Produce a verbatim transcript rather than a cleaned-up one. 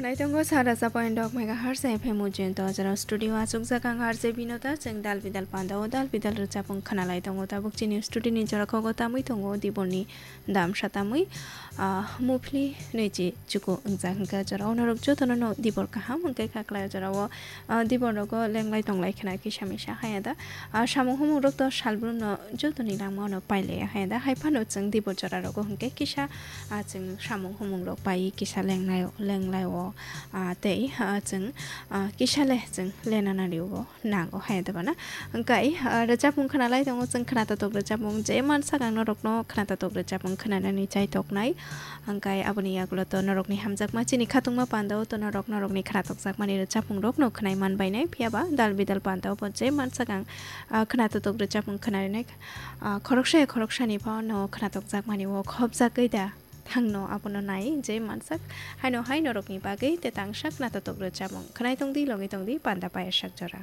Ai tongo sara sa point dok megahertz F M ujin to jora studio achuk jak ang R J Binota chwng dal bidal panda o dal bidal rwchapung khwnalai tongo tabuk chini studio ni jora kogo tamui tongo dibor ni dam satamui, ah, muphli nui chi chuku wngjak hwnkhe jora o norok jotono no dibor kaham hwnkhe kha khlai jora o, ah, dibor rogo lenglai tonglai khwna kisa misa haya da, ah, samung humung rok to salbrum no jotoni langma no pailai haya da hai phano chwng dibor jora rogo hwnkhe kisa, ah, chwng samung humung rok pai kisa lenglai lenglai o, ah, tei, ah, chwng, ah, kisa le chwng lena nari o. Nango hai da bana. Hwnkhe, ah, rwchapung khwnalai tongo chwng khwnatotok rwchapung je mansak ang norokno khwnatotok rwchapung khwnanani chai toknai. Hwnkhe aboni yagulo to norokni hamjakma chini khatungma pandao to norok norokni khwnatokjakmani rwchapung rokno khwnai manbainai. Phiyaba dal bidal pandao bo je mansak ang, ah, khwnatotok rwchapung khwnarinai, ah, khoroksa ya khoroksani phano khwnatokjakmani o khopjagwi da thangno abono nai je mansak. Haino hai norokni bagwi te tangsa khwnatotok rwchapung khwnai tongdi logwi tongdi panda payasak jora.